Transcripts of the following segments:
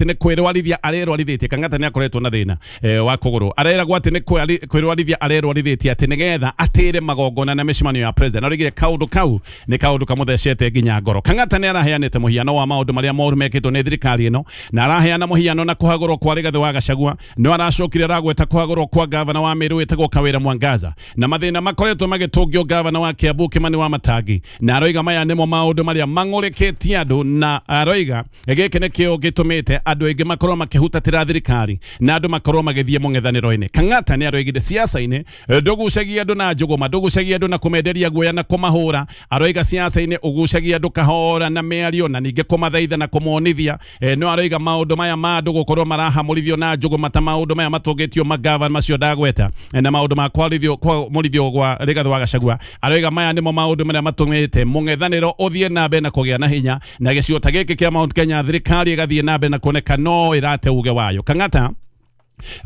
Nĩ kwĩrwarithia arerwarithĩtie. Kang'ata nĩ akoretwo na thĩna wa kũgũrũ, areragwo atĩ nĩ kwĩrwarithia arerwarithĩtie atĩ nĩgetha atĩre magongona na mĩcemanio ya president. Arugire kaũndũ kau nĩ kaũndũ kamũthecete nginya ngoro. Kang'ata nĩ araheanĩte mũhiano wa maũndũ marĩa moru mekĩtwo nĩ thirikari ĩno, na araheana mũhiano na kũhagũrwo kwa Rigathĩ wa Gachagua. No aracokire aragweta kũhagũrwo kwa gavana wa Meru wĩtagwo Kawĩra Mwangaza, na mathĩna makoretwo magĩtũngio gavana wa Kiambu Kimani wa Matangi, na aroiga maya nĩmo maũndũ marĩa mang'ũrĩkĩtie andũ, na aroiga gĩkĩ nĩkĩo gĩtũmĩte andũ aingĩ makorwo makĩhutatĩra thirikari na andũ makorwo magĩthiĩ mũng'ethanĩro-inĩ. Kang'ata nĩ aroigire siasa-inĩ ndũgucagia andũ na njũgũma, ndũgucagia andũ na kũmenderia guoya na kũmahũra. Aroiga siasa-inĩ ũgucagia andũ kahora na mĩario na ningĩ kũmathaitha na kũmonithia. No aroiga maũndũ maya ma andũ gũkorwo marahamũrithio na njũgũma ta maũndũ maya matũngĩtio magavana macio ndagweta, na maũndũ ma kwamũrithio gwa Rigathĩ wa Gachagua. Aroiga maya nĩmo maũndũ marĩa matũmĩte mũng'ethanĩro ũthiĩ na mbere na kũgĩa na hinya, na gĩcigo ta gĩkĩ kĩa Mount Kenya thirikari ĩgathiĩ na mbere na kuoneka no ĩrate uge wayo. Kang'ata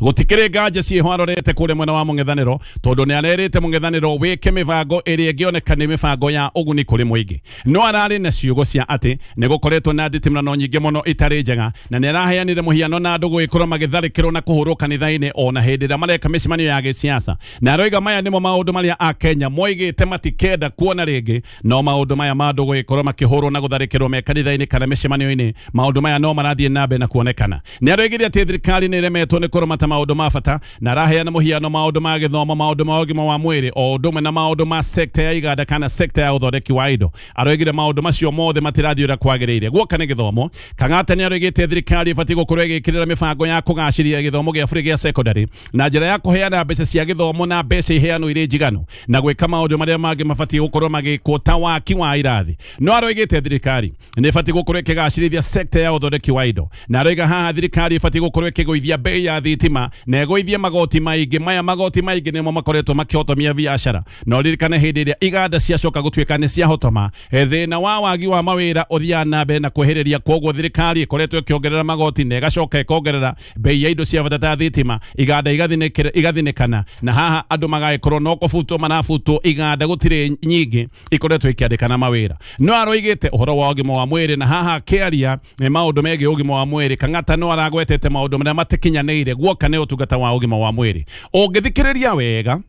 gũtikĩrĩ nganja ciĩho arorete kũrĩa mwena wa mũng'ethanĩro, tondũ nĩ arerĩte mũng'ethanĩro wĩke mĩbango ĩrĩa ĩngĩoneka nĩ mĩbango ya ũguni kũrĩ mũingĩ. No ararĩ na ciugo cia atĩ nĩ gũkoretwo na nditimũrano nyingĩ mũno itarĩ njega, na nĩ araheanire mũhiano na andũ gũgĩkorwo magĩtharĩkĩrwo na kũhũrwo kanitha-inĩ ona hĩndĩ ĩrĩa mareka mĩcemanio ya gĩsiasa. Na aroiga maya nĩmo maũndũ marĩa Akenya moigĩte matikenda kuona rĩngĩ, no maũndũ maya ma andũ gũgĩkorwo makĩhũrwo na gũtharĩkĩrwo me kanitha-inĩ kana mĩcemanio-inĩ, maũndũ maya no marathiĩ na mbere na kuonekana. Nĩ aroigire atĩ thirikari nĩ ĩremetwo nĩ kũramata maũndũ ma bata, na araheana mũhiano maũndũ ma gĩthomo, maũndũ ma ũgima wa mwĩrĩ, o ũndũ ũmwe na maũndũ ma sekta ya iganda kana sekta ya ũthondeki wa indo. Aroigire maũndũ macio mothe matirathiĩ ũrĩa kwagĩrĩire. Guoka nĩ gĩthomo, Kang'ata nĩ aroigĩte thirikari ĩbatiĩ gũkorwo ĩgĩkĩrĩra mĩbango ya kũgacĩria gĩthomo gĩa bũrũri gĩa secondary na njĩra ya kũheana mbeca cia gĩthomo na mbeca iheanwo irĩ njiganu, na gwĩka maũndũ marĩa mangĩ mabatiĩ gũkorwo magĩkwo ta waki wa irathi. No aroigĩte thirikari nĩ ĩbatiĩ gũkorwo ĩkĩgacĩrithia sekta ya ũthondeki wa indo, na aroiga haha thirikari ĩbatiĩ gũkorwo ĩkĩgũithia bei ya thitima na ĩgũithie magoti maingĩ. Maya magoti maingĩ nĩmo makoretwo makĩhotomia biacara, na ũririkane hĩndĩ ĩrĩa iganda ciacoka gũtuĩka nĩ ciahotoma, thĩna wa wagi wa mawĩra ũthiaga na mbere na kwĩhĩrĩria. Koguo thirikari ĩkoretwo ĩkĩongerera magoti na ĩgacoka ĩkongerera bei ya indo cia bata ta thitima, iganda igathinĩkana, na haha andũ magagĩkorwo no kũbutwo marabutwo, iganda gũtirĩ nyingĩ ikoretwo ikĩandĩkana mawĩra. No aroigĩte ũhoro wa ũgima wa mwĩrĩ, na haha akĩaria maũndũ megiĩ ũgima wa mwĩrĩ, Kang'ata no aragwetete maũndũ marĩa matakinyanĩire guoka nĩ ũtungata wa ũgima wa mwĩrĩ. Ũngĩthikĩrĩria wega,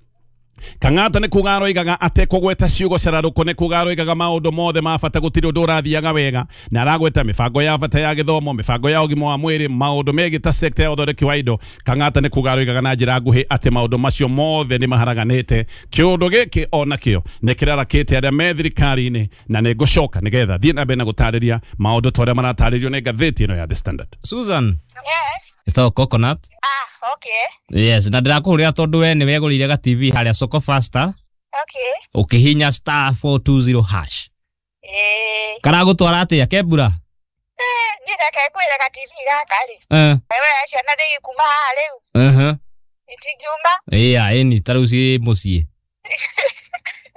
Kang'ata nĩ kuga aroigaga atekũgweta ciugo cararũkũ, nĩ kuga aroigaga maũndũ mothe ma bata, gũtirĩ ũndũ ũrathiaga wega, na aragweta mĩbango ya bata ya gĩthomo, mĩbango ya ũgima wa mwĩrĩ, maũndũ megiĩ ta sekta ya ũthondeki wa indo. Kang'ata nĩ kuga aroigaga na njĩra nguhĩ atĩ maũndũ macio mothe nĩ maharaganĩte. Kĩũndũ gĩkĩ onakĩo nĩ kĩrarakĩte arĩa me thirikari-inĩ, na nĩ ngũcoka nĩgetha thiĩ na mbere na gũtarĩria maũndũ ta ũrĩa maratarĩrio nĩ ngathĩti ĩno ya The Standard. Susan. Yes. Ĩtagwo Coconut. Ah, okay. Yes, na ndĩrakũhũrĩra tondũ we nĩ wegũrĩire ga TV harĩa Soko Faster. Okay. Ũkĩhinya star 420 hash. Eh. Karagũtwara atĩa Kembura? Niĩ reke ngwĩre ga TV gaka rĩ. Wewe ciana ndĩ kuma haha rĩu. Itingiuma. Ĩya, ĩni ta rĩu ciĩ mũciĩ.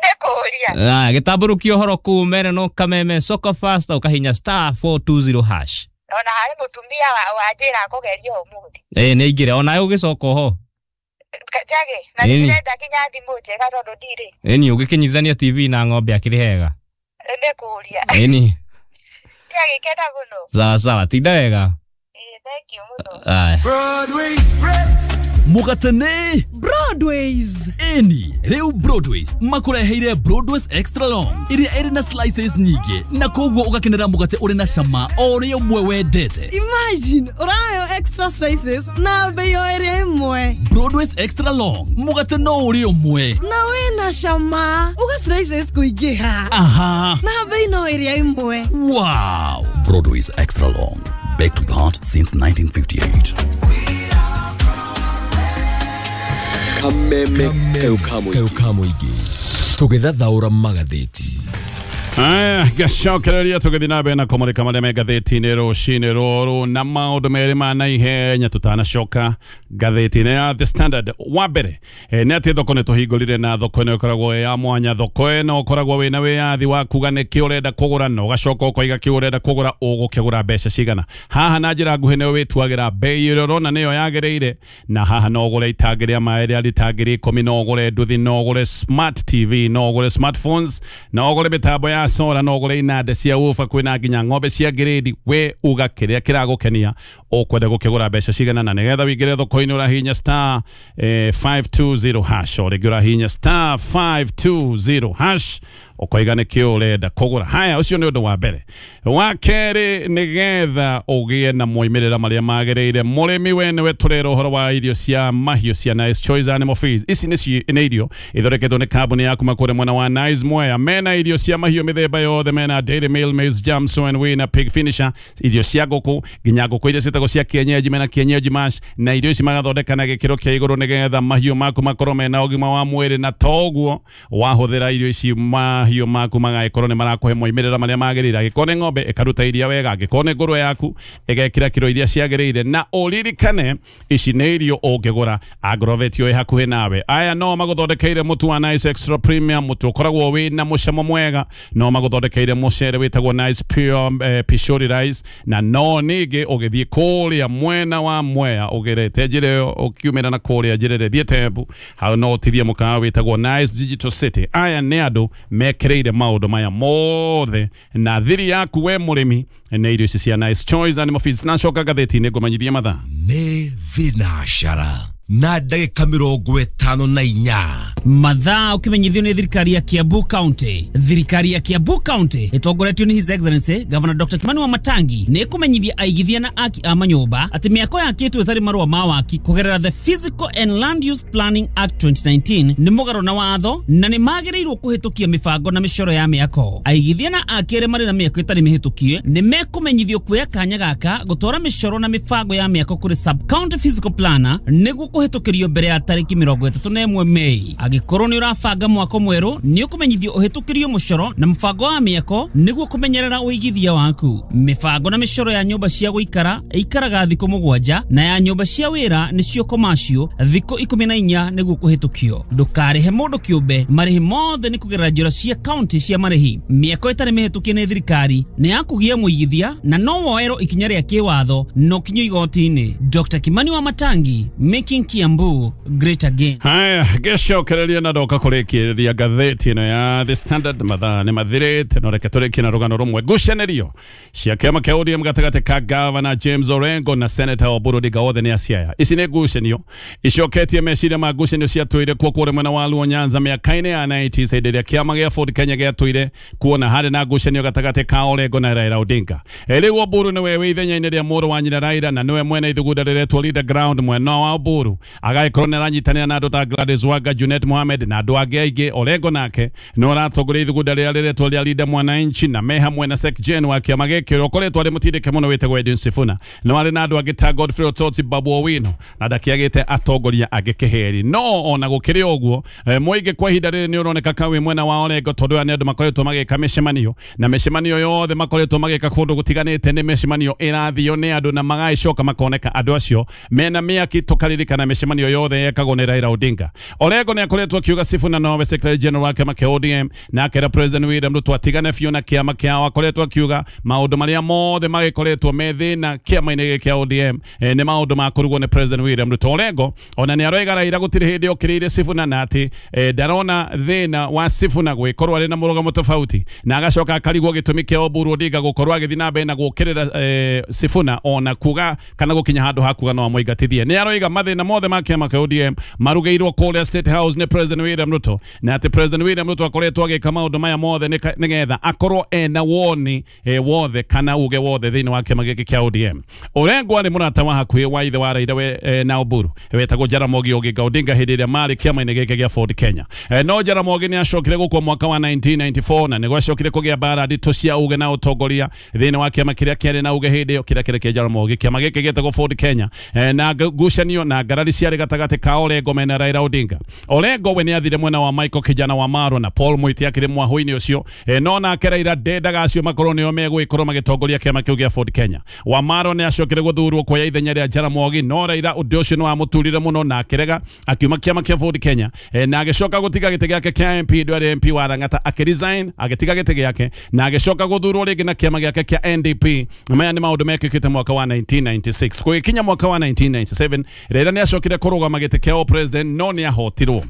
Nĩ kũũria. Ah, gĩtambũrũkia ũhoro kũu mere no kameme Soko Faster ũkahinya star 420 hash. Ona harĩ mũtumia wanjĩra kũgeria ũmũthĩ. Nĩ aingĩre onawe ũgĩcoka oho. Njage, na nĩ ndĩrenda nginya thimũ njega tondũ ndirĩ. Ĩni ũgĩkĩnyitithania TV na ng'ombe akĩrĩ hega. Nĩ kũũria. Ĩni. Ndiagĩkena mũno. Sawa sawa, tinda wega. Thank you mũno. Aya. Mũgatene Broadways. Ĩni rĩu Broadways makũreheire Broadways Extra Long ĩrĩa ĩrĩ na slices nyingĩ, na koguo ũgakenera mũgate ũrĩ na cama o ũrĩa ũmwe wendete. Imagine ũraheo extra slices na bei o ĩrĩa ĩmwe. Broadways Extra Long mũgate no ũrĩa ũmwe na wĩna cama, uga slices kũingĩha. Aha. Na bei no ĩrĩa ĩmwe. Wow. Broadways Extra Long, baked with heart since 1958. Kameme kau ka mũingĩ tũgĩthathaũra magathĩti. Aya, gacokereria tũgĩthiĩ na mbere na kũmũrĩka marĩa me ngathĩti-inĩ rũcinĩ rũrũ, na maũndũ merĩ ma naihenya tũtanacoka ngathĩti-inĩ ya The Standard. Wa mbere nĩ atĩ thoko nĩ tũhingũrire, na thoko ĩno ĩkoragwo ĩ ya mwanya. Thoko ĩno ũkoragwo wĩna wĩyathi wa kuga nĩkĩ ũrenda kũgũra, na ũgacoka ũkoiga kĩ ũrenda kũgũra ũgũkĩgũra mbeca cigana. Haha na njĩra nguhĩ nĩwe wĩtuagĩra bei ĩrĩa ũrona nĩyo yagĩrĩire, na haha no ũgũre itangi rĩa maĩ rĩa rita 10,000, no ũgũre nduthi, no ũgũre smart TV, no ũgũre smartphones, no ũgũre mĩtambo ya ũgũra sora, no ũgũre inanda cia ufa, kwĩna nginya ng'ombe cia grade. We uga kĩrĩa kĩragũkenia ũkwenda gũkĩgũra mbeca cigana, na nĩgetha wĩingĩre thoko-inĩ ũrahihinya star 520 hash, o rĩngĩ ũrahihinya star 520 hash ũkoiga nĩkĩ ũrenda kũgũra. Haya, ũcio nĩ ũndũ wa mbere. Wa kerĩ, nĩgetha ũgĩe na moimĩrĩra marĩa magĩrĩire, mũrĩmi we nĩwe tũrera ũhoro wa irio cia mahiũ cia Nice Choice Animal Feeds. Ici nĩ irio ithondeketwo nĩ kambuni ya kuma kũrĩa mwena wa Nice Mwea. Mena irio cia mahiũ mĩthemba yothe, mena Dairy Meal, Maize Jam, Soy and Whey na Pig Finisher, irio cia ngũkũ, nginya ngũkũ iria ciĩtagwo cia kienyeji, mena kienyeji mash, na irio ici magathondeka na gĩkĩro kĩa igũrũ nĩgetha mahiũ maku makorwo mena ũgima wa mwĩrĩ, na toguo wahũthĩra irio ici mahiũ maku magagĩkorwo nĩ marakũhe moimĩrĩra marĩa magĩrĩire. Angĩkorwo nĩ ng'ombe ĩkaruta iria wega, angĩkorwo nĩ ngũrwe yaku ĩgekĩra kiro iria ciagĩrĩire. Na ũririkane ici nĩ irio ũngĩgũra Agrovet ĩ hakuhĩ nawe. Aya no magũthondekeire mũtu wa Nice Extra Premium, mũtu ũkoragwo wĩ na mũcamo mwega. No magũthondekeire mũcere wĩtagwo Nice Pure Pishori Rice, na no ningĩ ũgĩthiĩ kũrĩa mwena wa Mwea ũgerete njĩra ĩyo ũkiumĩra na kũrĩa njĩra ĩrĩa ĩthiĩte Embu, hau no ũtithie mũkawa wĩtagwo Nice Digital City. Aya nĩ andũ mekereire maũndũ maya mothe, na thiri yaku we mũrĩmi nĩ irio ici cia Nice Choice Animal Feeds. Nacoka ngathĩti-inĩ ngũmenyithie mathaa. Nĩ thinacara na ndagĩka 54. Mathaa ũkĩmenyithio nĩ thirikari ya Kiambu County. Thirikari ya Kiambu County ĩtongoretio nĩ His Excellency Governor Dr. Kimani Wamatangi nĩ ĩkũmenyithia aigithia na aki a manyũmba atĩ mĩako yakĩtwo ĩtarĩ marũa ma waki kũgerera The Physical and Land Use Planning Act 2019 nĩ mũgarũ na watho na nĩ magĩrĩirwo kũhĩtũkia mĩbango na mĩcoro ya mĩako. Aigithia na aki arĩa marĩ na mĩako ĩtarĩ mĩhĩtũkie nĩ mekũmenyithio kuoya kanya gaka gũtwara mĩcoro na mĩbango ya mĩako kũrĩ sub county physical planner nĩguo kũhĩtũkĩrio mbere ya tarĩki 31 Mei. Angĩkorwo nĩ ũrabanga mwako mwerũ nĩ ũkũmenyithio ũhĩtũkĩrio mũcoro na mũbango wa mĩako nĩguo kũmenyerera ũigithia waku. Mĩbango na mĩcoro ya nyũmba cia gũikara ĩikaraga thikũ 7 na ya nyũmba cia wĩra nĩcio commercial thikũ 14 nĩguo kũhĩtũkio. Ndũkarĩhe mũndũ kĩũmbe, marĩhi mothe nĩ kũgerera njĩra cia county cia marĩhi. Mĩako ĩtarĩ mĩhĩtũkie nĩ thirikari nĩ ya kũgia mũigithia na no woerwo ikinya rĩa kĩwatho no kinyo igoti-inĩ. Dr. Kimani Wamatangi, making Kiambu great again. Haya, gĩcokereria na ndoka kũrĩkĩrĩria ngathĩti ĩno ya The Standard. Mathaa nĩ mathirĩte, no reke tũrĩkie na rũgano rũmwe. Ngucanĩrio cia kĩama kĩa ODM gatagatĩ ka Gavana James Orengo na Senator Oburu Odinga othe nĩ aciaya. Ici nĩ ngucanio icoketie meciria ma ngucanio ciatũire kuo kũrĩa mwena wa Luo Nyanza mĩaka-inĩ ya 90s, hĩndĩ ĩrĩa kĩama gĩa Ford Kenya gĩatũire kuona harĩ na ngucanio gatagatĩ ka Orengo na Raila Odinga. Rĩu Oburu nĩwe wĩ ithenya-inĩ rĩa mũrũ wa nyina Raila, na nĩwe mwene ithugunda rĩretwo Leader Ground mwena wa Oburu. Agagĩkorwo nĩ aranyitanĩra na andũ ta Gladys Wanga, Junet Mohamed na andũ angĩ aingĩ. Orengo nake nĩ aratongoria ithugunda rĩrĩa rĩretwo rĩa Leader Mwananchi, na me hamwe na Sek Jen wa kĩama gĩkĩ ũrĩa ũkoretwo arĩ mũtindĩke mũno wĩtagwo Edwin Sifuna. No arĩ na andũ angĩ ta Godfrey Ototi, Babu Owino na ndakĩagĩte atongoria angĩ kĩheri. No ona gũkĩrĩ ũguo, mũingĩ kwa ihinda rĩrĩ nĩ ũroneka ka wĩ mwena wa Orengo, tondũ aya nĩ andũ makoretwo magĩka mĩcemanio, na mĩcemanio yothe makoretwo magĩka kũndũ gũtiganĩte nĩ mĩcemanio ĩrathio nĩ andũ na magagĩcoka makoneka andũ acio mena mĩaki. Tũkaririkana mĩcemanio yothe yekagwo nĩ Raila Odinga. Orengo nĩ akoretwo akiuga Sifuna nowe Secretary General wa kĩama kĩa ODM, na akera President William Ruto atigane biũ na kĩama kĩao. Akoretwo akiuga maũndũ marĩa mothe magĩkoretwo me thĩna kĩama-inĩ gĩkĩ kĩa ODM nĩ maũndũ ma kũrugwo nĩ President William Ruto. Orengo ona nĩ aroiga Raila gũtirĩ hĩndĩ okĩrĩire Sifuna, na atĩ ndarona thĩna wa Sifuna gwĩkorwo arĩ na mũrũgamo tofauti, na agacoka akarigwo gĩtũmi kĩa Oburu Odinga gũkorwo agĩthiĩ na mbere na gũkĩrĩra Sifuna ona kuga kana gũkinya handũ ha kuga no amũingatithie. Nĩ aroiga mathĩna mothe ma kĩama kĩa ODM marugĩirwo kũrĩa State House nĩ President William Ruto, na atĩ President William Ruto akoretwo agĩka maũndũ maya mothe nĩgetha akorwo ena woni wothe kana uge wothe thĩinĩ wa kĩama gĩkĩ kĩa ODM. Orengo arĩ mũrata wa hakuhĩ wa ithe wa Raila we na Oburu wetagwo Jaramogi Oginga Odinga hĩndĩ ĩrĩa marĩ kĩama-inĩ gĩkĩ gĩa Ford Kenya. No Jaramogi nĩ acokire gũkua mwaka wa 1994 na nĩguo acokire kũgĩa mbara nditũ cia uge na ũtongoria thĩinĩ wa kĩama kĩrĩa kĩarĩ na uge hĩndĩ ĩyo kĩrĩa kĩrĩ kĩa Jaramogi. Kĩama gĩkĩ gĩetagwo Ford Kenya, na ngucanio na ngarari ciarĩ gatagatĩ ka Orengo mena Raila Odinga. Orengo we nĩ athire mwena wa Michael Kijana wa Marwa na Paul Mwiti akĩrĩ mwahũ-inĩ ũcio, no nake Raila ndendaga acio makorwo nĩo megũgĩkorwo magĩtongoria kĩama kĩu gĩa Ford Kenya. Wa Marwa nĩ acokire gũthurwo kuoya ithenya rĩa Jaramogi, no Raila ũndũ ũcio nĩ wamũturire mũno na akĩrega akiuma kĩama kĩa Ford Kenya, na agĩcoka gũtiga gĩtĩ gĩake kĩa MP ndũ arĩ MP wa Lang'ata, akĩresign agĩtiga gĩtĩ gĩake na agĩcoka gũthurwo rĩngĩ na kĩama gĩake kĩa NDP. Maya nĩ maũndũ mekĩkĩte mwaka wa 1996. Gũgĩkinya mwaka wa 1997 Raila nĩ acokire kũrũgama gĩtĩ kĩa president, no nĩ ahotirwo.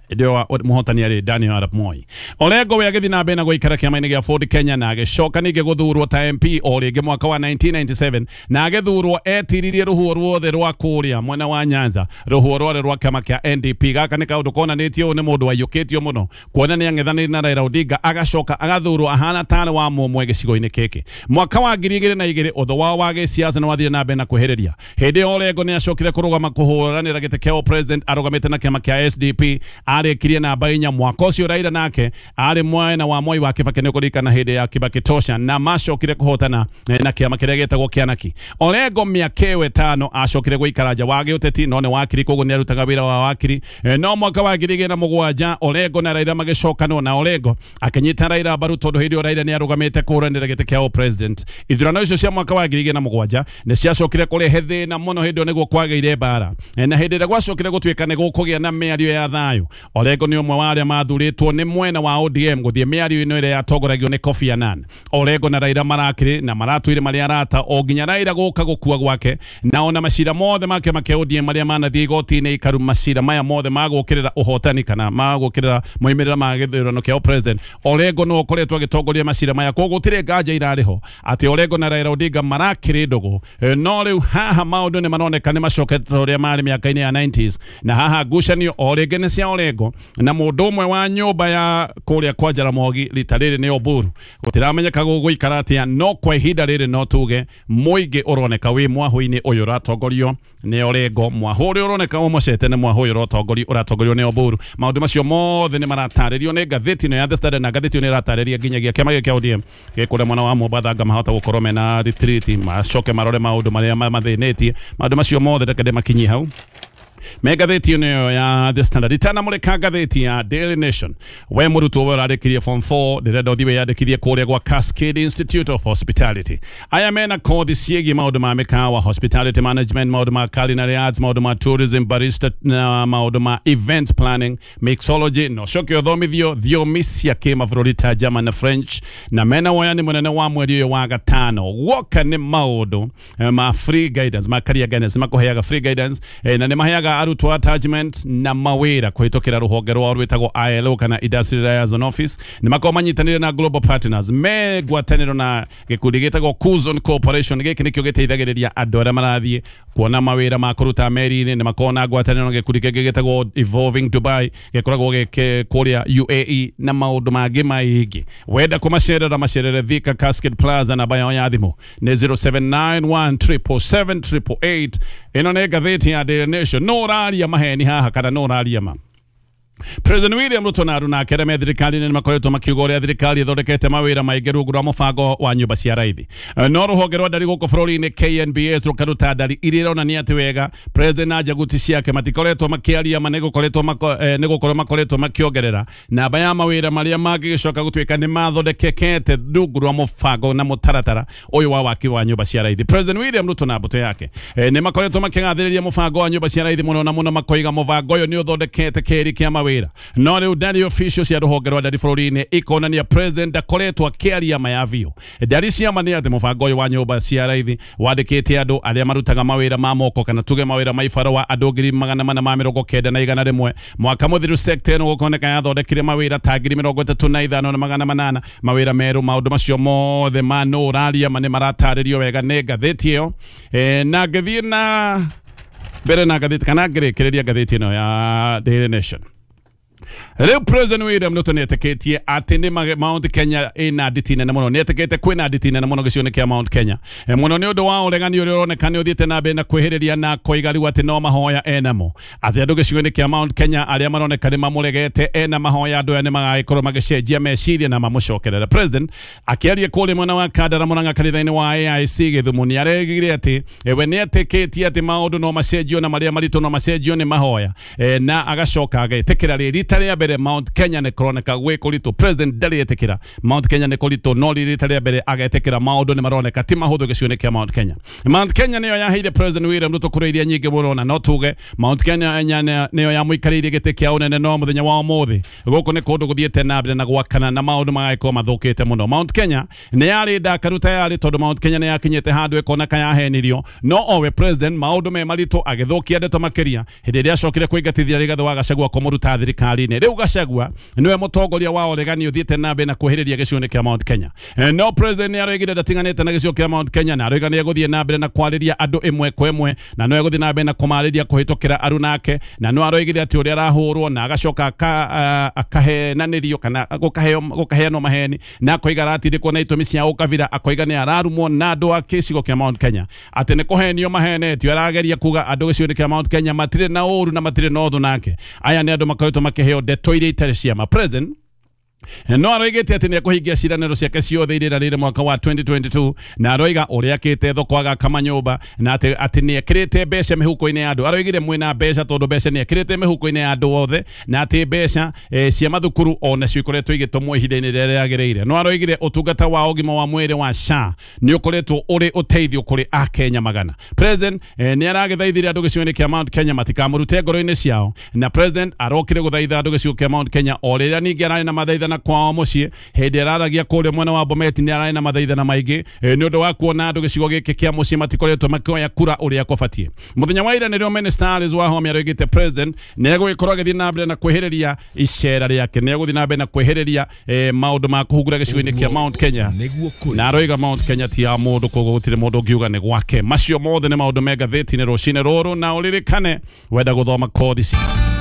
Ndio muhotani arĩ Daniel Arap Moi. Orengo we agĩthiĩ na mbere na gũikara kĩama-inĩ gĩa Ford Kenya na agĩcoka ningĩ gũthurwo ta MP o rĩngĩ mwaka wa 1997 na agĩthurwo etiririe rũhuho ruothe rwa kũrĩa mwena wa Nyanza, rũhuho rwarĩ rwa kĩama kĩa NDP. Gaka nĩ kaũndũ konanĩtio ũyũ nĩ mũndũ waiyũkĩtio mũno kuona nĩ ang'ethanĩire na Raila Odinga agacoka agathurwo ahana tarĩ wa mũmwe gĩcigo-inĩ gĩkĩ. Mwaka wa 2002 ũthũ wao wa gĩsiasa nĩ wathire na mbere na kwĩhĩrĩria. Hĩndĩ ĩyo Orengo nĩ acokire kũrũgama kũhũranĩra gĩtĩ kĩa president arũgamĩte na kĩama kĩa SDP, arĩkirie namba 4. Mwaka ũcio Raila nake arĩ mwena wa Moi wa Kibaki, nĩ ũkũririkana hĩndĩ ya Kibaki tosha, na macokire kũhotana na kĩama kĩrĩa gĩtagwo Kĩanaki. Orengo mĩaka ĩyo 5 acokire gũikara nja wa gĩũteti, no nĩ wakiri, koguo nĩ arutaga wĩra wa wakiri. No mwaka wa 2007 Orengo na Raila magĩcokanwo na Orengo akĩnyita Raila mbaru tondũ hĩndĩ ĩyo Raila nĩ arũgamĩte kũhũranĩra gĩtĩ kĩa president. Ithurano icio cia mwaka wa 2007 nĩ ciacokire kũrehe thĩna mũno hĩndĩ ĩyo nĩguo kwagĩire mbara, na hĩndĩ ĩrĩa gwacokire gũtuĩka nĩ gũkũgĩa na mĩario ya thayũ, Orengo nĩ ũmwe wa arĩa mathurĩtwo nĩ mwena wa ODM gũthiĩ mĩario ĩno ĩrĩa yatongoragio nĩ Kofi Annan. Orengo na Raila marakĩrĩ na maratũire marĩ arata o nginya Raila gũka gũkua gwake, na ona macira mothe ma kĩama kĩa ODM marĩa manathiĩ igoti-inĩ ikaru, macira maya mothe magũkĩrĩra ũhotani kana magũkĩrĩra moimĩrĩra ma gĩthurano kĩa president, Orengo no ũkoretwo agĩtongoria macira maya. Koguo gũtirĩ nganja irarĩ ho atĩ Orengo na Raila Odinga marakĩrĩ ndũgũ. No rĩu haha maũndũ nĩ maroneka nĩ macokete ũrĩa marĩ mĩaka-inĩ ya 90s, na haha ngucanio o rĩngĩ nĩ cia Orengo na mũndũ ũmwe wa nyũmba ya kũrĩa kwa Jaramogi, rita rĩrĩ nĩ Oburu. Gũtiramenyeka gũgũikara atĩa, no kwa ihinda rĩrĩ no tuge mũingĩ ũroneka wĩ mwahũ-inĩ ũyũ ũratongorio nĩ Orengo, mwahũ ũrĩa ũroneka ũmocete nĩ mwahũ ũyũ ũratongorio nĩ Oburu. Maũndũ macio mothe nĩ maratarĩrio nĩ ngathĩti ĩno ya The Standard, na ngathĩti ĩno nĩ ĩratarĩria nginyagia kĩama gĩkĩ kĩa ODM gĩkũrĩa mwena wa Mombatha nga mahota gũkorwo mena retreat, macoke marore maũndũ marĩa mathĩnĩtie. Maũndũ macio mothe reke ndĩmakinyie hau me ngathĩti ĩno ya The Standard. Itanamũrĩka ngathĩti ya Daily Nation, we mũrutwo we ũrarĩkirie form 4 ndĩrenda ũthiĩ wĩyandĩkithie kũrĩa gwa Cascade Institute of Hospitality. Aya mena kothi ciĩgiĩ maũndũ ma mĩkawa, hospitality management, maũndũ ma culinary arts, maũndũ ma tourism, barista na maũndũ ma event planning, mixology, na ũcoke ũthomithio thiomi cia kĩmabũrũri ta German na French, na mena woyani mũnene wa mweri ũyũ wa gatano. Guoka nĩ maũndũ ma free guidance, ma career guidance, makũheaga free guidance, na nĩ maheaga arutwo attachment na mawĩra kũhĩtũkĩra rũhonge rwao rwĩtagwo ILO kana Industrial Liaison Office. Nĩ makoragwo manyitanĩire na Global Partners me ngwatanĩro na gĩkundi gĩtagwo Kuzon Corporation. Gĩkĩ nĩkĩo gĩteithagĩrĩria andũ arĩa marathiĩ kuona mawĩra ma kũruta meri-inĩ. Nĩ makoragwo na ngwatanĩro na gĩkundi kĩngĩ gĩtagwo Evolving Dubai, gĩkoragwo gĩkĩ kũrĩa UAE na maũndũ mangĩ maingĩ. Wenda kũmacerera macerere Thika Cascade Plaza, namba yao ya thimũ nĩ 0791 777 888. Ĩno nĩ ngathĩti ya Daily Nation. No ũraria maheni haha kana no ũraria ma? President William Ruto na aruna ake arĩa me thirikari-inĩ nĩ makoretwo makiuga ũrĩa thirikari ĩthondekete mawĩra maingĩ rungu rwa mũbango wa nyũmba cia raithi. No rũhonge rwa ndari gũkũ bũrũri-inĩ KNBS rũkaruta ndari iria ironania atĩ wega president na njaguti ciake matikoretwo makĩaria ma, nĩ gũkorwo makoretwo makĩongerera namba ya mawĩra marĩa mangĩgĩcoka gũtuĩka nĩ mathondekekete rungu rwa mũbango na mũtaratara ũyũ wa waki wa nyũmba cia raithi. President William Ruto na mbũtũ yake nĩ makoretwo makĩgathĩrĩria mũbango wa nyũmba cia raithi mũno na mũno, makoiga mũbango ũyũ nĩ ũthondekete kĩĩri kĩa mawĩra. No rĩu ndari official cia rũhonge rwa ndari bũrũri-inĩ ikonania president ndakoretwo akĩaria maya biũ. Ndari cia ma nĩ atĩ mũbango ũyũ wa nyũmba cia raithi wandĩkĩte andũ arĩa marutaga mawĩra ma moko kana tuge mawĩra ma ibarũa andũ 490,100 mwaka mũthiru. Sector ĩno gũkoneka yathondekire mawĩra ta 35,800 mawĩra merũ. Maũndũ macio mothe ma no ũraria ma nĩ maratarĩrio wega nĩ ngathĩti ĩyo. Na ngĩthiĩ na mbere na ngathĩti kana ngĩrĩkĩrĩria ngathĩti ĩno ya Daily Nation. Rĩu President William Ruto nĩetĩkĩtie atĩ nĩ Mount Kenya ĩna nditi nene mũno, nĩetĩkĩte kwĩna nditi nene mũno gĩcigo-inĩ kĩa Mount Kenya, mũno nĩ ũndũ wa ũregani ũrĩa ũroneka nĩ ũthiĩte na mbere na kwĩhĩrĩria na koiga rĩu atĩ no mahoya enamo, atĩ andũ gĩcigo-inĩ kĩa Mount Kenya arĩa maroneka nĩ mamũregete ena mahoya andũ aya nĩ magagĩkorwo magĩcenjia meciria na mamũcokerere. President akĩaria kũrĩa mwena wa Kandara Murang'a kanitha-inĩ wa AIC Gĩthumo nĩ aregire atĩ we nĩetĩkĩtie atĩ maũndũ no macenjio na marĩa maritũ no macenjio nĩ mahoya, na agacoka agetĩkĩra rĩrĩ rĩa mbere Mount Kenya nĩ kũroneka gwĩ kũritũ. President ndarĩ etĩkĩra Mount Kenya nĩ kũritũ, no rita rĩa mbere agetĩkĩra maũndũ nĩ maroneka ti mahũthũ gĩcigo-inĩ kĩa Mount Kenya. Mount Kenya nĩyo yaheire President William Ruto kura iria nyingĩ mũno, na no tuge Mount Kenya nĩyo yamũikarĩire gĩtĩ kĩa ũnene no mũthenya wa ũmũthĩ gũkũ nĩ kũndũ gũthiĩte na mbere na gwakana na maũndũ magagĩkorwo mathũkĩte mũno. Mount Kenya nĩ yarĩ ndakaru tayarĩ tondũ Mount Kenya nĩ yakinyĩte handũ ĩkoneka yahenirio, no owe president maũndũ me maritũ agĩthũkia ndeto makĩria hĩndĩ ĩrĩa acokire kũingatithia Rigathĩ wa Gachagua kũmũruta thirikari. gĩcigo-inĩ. Rĩu Gachagua nĩwe mũtongoria wa ũregani ũthiĩte na mbere na kwĩhĩrĩria gĩcigo-inĩ kĩa Mount Kenya. No president nĩ aroigire ndatiganĩte na gĩcigo kĩa Mount Kenya, na aroiga nĩ egũthiĩ na mbere na kwarĩria andũ ĩmwe kwa ĩmwe, na no egũthiĩ na mbere na kũmarĩria kũhĩtũkĩra aruna ake, na no aroigire atĩ ũrĩa arahũrwo na agacoka akahenanĩrio kana gũkaheanwo maheni, na akoiga aratindĩkwo na itũmi cia ũkabira, akoiga nĩ ararumwo na andũ a gĩcigo kĩa Mount Kenya atĩ nĩ kũhenio mahenetio. Arageria kuga andũ gĩcigo-inĩ kĩa Mount Kenya matirĩ na ũru na matirĩ na ũthũ nake. Aya nĩ andũ makoretwo makĩheo ndeto iria itarĩ cia ma. President no aroigĩte atĩ nĩ ekũhingia ciĩranĩro ciake ciothe iria eranĩire mwaka wa 2022, na aroiga ũrĩa akĩte thoko, agaka manyũmba, na atĩ nĩ ekĩrĩte mbeca mĩhuko-inĩ ya andũ. Aroigire mwĩna mbeca tondũ mbeca nĩ ekĩrĩte mĩhuko-inĩ ya andũ othe, na atĩ mbeca cia mathukuru ona cio ikoretwo igĩtũmwo ihinda-inĩ rĩrĩa rĩagĩrĩire. No aroigire ũtungata wa ũgima wa mwĩrĩ wa SHA nĩ ũkoretwo ũrĩ ũteithio kũrĩ akenya magana. President nĩ aragĩthaithire andũ gĩcigo-inĩ kĩa Mount Kenya matikamũrute ngoro-inĩ ciao, na president arokire gũthaitha andũ gĩcigo kĩa Mount Kenya o rĩrĩa ningĩ ararĩ na mathaithana kwao mũciĩ. Hĩndĩ araragia kũrĩa mwena wa Bomet nĩ ararĩ na mathaithana maingĩ nĩ ũndũ wa kuona andũ gĩcigo gĩkĩ kĩa mũciĩ matikoretwo makĩoya kura ũrĩa kũbatiĩ. Mũthenya wa ira nĩrĩo Minister Alice Wahome aroigĩte president nĩ egũgĩkorwo agĩthiĩ na mbere na kwĩhĩrĩria icera rĩake, nĩ egũthiĩ na mbere na kwĩhĩrĩria maũndũ ma kũhungura gĩcigo-inĩ kĩa Mount Kenya, na aroiga Mount Kenya ti ya mũndũ, koguo gũtirĩ mũndũ ũngiuga nĩ gwake. Macio mothe nĩ maũndũ me ngathĩti-inĩ rũcinĩ rũrũ, na ũririkane wenda gũthoma kothi.